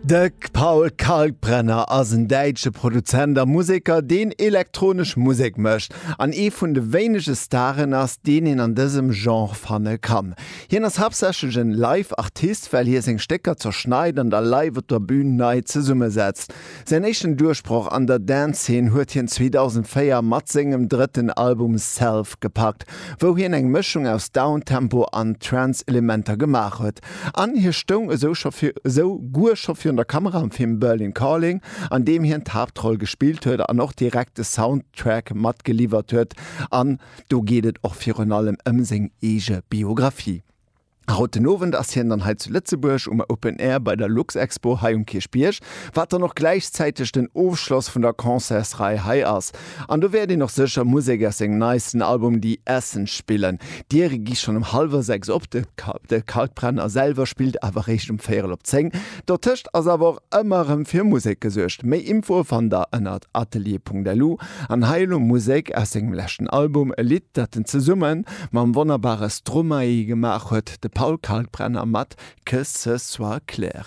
De Paul Kalkbrenner ass en däitsche Produzent a Museker, deen elektronesch Musek mécht an ee vun de wéinege Staren ass, deen een an dësem Genre fanne kann. Hien ass haaptsächlech en Live-Artist, well hie seng Stécker zerschneit an da live op der Bün nei zesummesetzt. Säin éischten Duerchbroch an der Dance-Zeen huet hien 2004 mat sengem drëtten Album Self gepackt, wou hien eng Mëschung aus Downtempo an Trance-Elementer gemaach huet. An hie stoung esou scho esou guer scho virun der Kamera am Film Berlin Calling, an deem hien d'Haaptroll gespillt huet an och direkt de Soundtrack matgeliwwert huet. An do geet et och virun allem ëm seng eege Biographie. Haut den Owend ass hien dann hei zu Lëtzebuerg um Open Air bei der Luxexpo hei um Kierchbierg, wat dann och gläichzäiteg den Ofschloss vun der Concertsrei hei ass. An do wäert een och sécher Musek aus sengem neisten Album The Essence spillen. D'Diere gi schonn um hallwer 6 op, de Kalkbrenner selwer spillt awer réischt um véierel op 10. Dotëscht ass awer och ëmmer erëm fir Musek gesuergt. Méi Infoe fannt der ënnert atelier.lu. An hei elo Musek aus sengem leschten Album, e Lidd dat en zesumme mam wonnerbare Stromae gemaach huet, de Paul Kalkbrenner mat Que ce soit clair.